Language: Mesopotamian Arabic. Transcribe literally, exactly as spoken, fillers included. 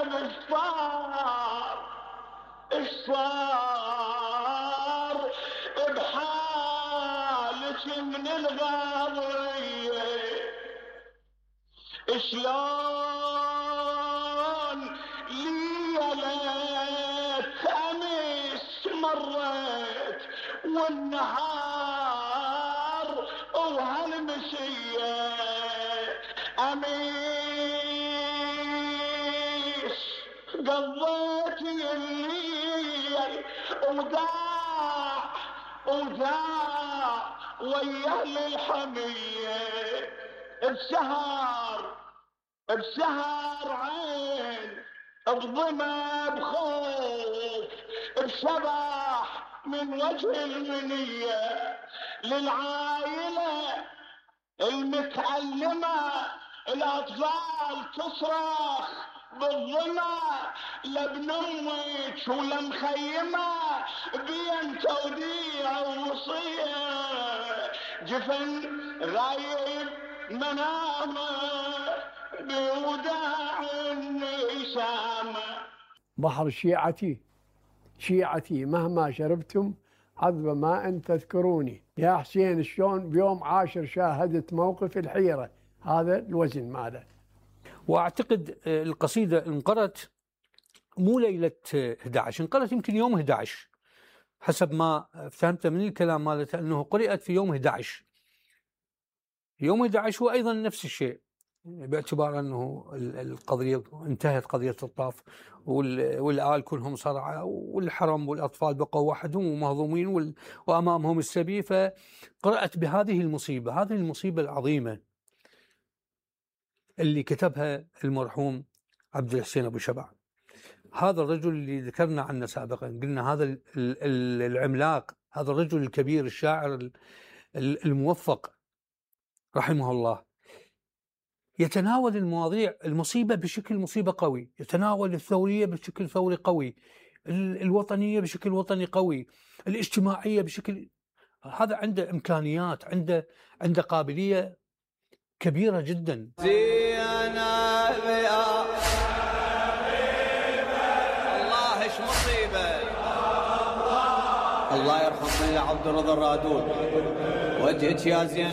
زينب اش صار اش صار بحالك من الغاضية، شلون ليلة امس مرت والنهار وهالمشية اميس قضيت الليل وداع وداع ويا الحمية، بسهر بسهر عين بظما بخوف بشبح من وجه المنية للعائلة المتألمة، الأطفال تصرخ بالظما لابن امك ولا مخيمة بين توديع ووصية، جفن غايب منامه بوداع النسامة. بحر شيعتي شيعتي مهما شربتم عذب ماء تذكروني. يا حسين شلون بيوم عاشر شاهدت موقف الحيرة، هذا الوزن ماله. واعتقد القصيدة انقرت مو ليلة احد عشر، انقرت يمكن يوم احد عشر حسب ما فهمت من الكلام مالته، انه قرأت في يوم احد عشر. يوم احد عشر هو ايضا نفس الشيء، باعتبار انه القضيه انتهت قضيه الطاف والآل كلهم صرعى والحرم والاطفال بقوا وحدهم ومهضومين وامامهم السبي، فقرأت بهذه المصيبه، هذه المصيبه العظيمه اللي كتبها المرحوم عبد الحسين ابو شبع. هذا الرجل اللي ذكرنا عنه سابقا، قلنا هذا العملاق، هذا الرجل الكبير الشاعر الموفق رحمه الله، يتناول المواضيع المصيبة بشكل مصيبة قوي، يتناول الثورية بشكل ثوري قوي، الوطنية بشكل وطني قوي، الاجتماعية بشكل، هذا عنده إمكانيات، عنده عنده قابلية كبيرة جدا. الله ايش مصيبة، الله يرحم من عبد الرضا الرادود، وجهك يا زين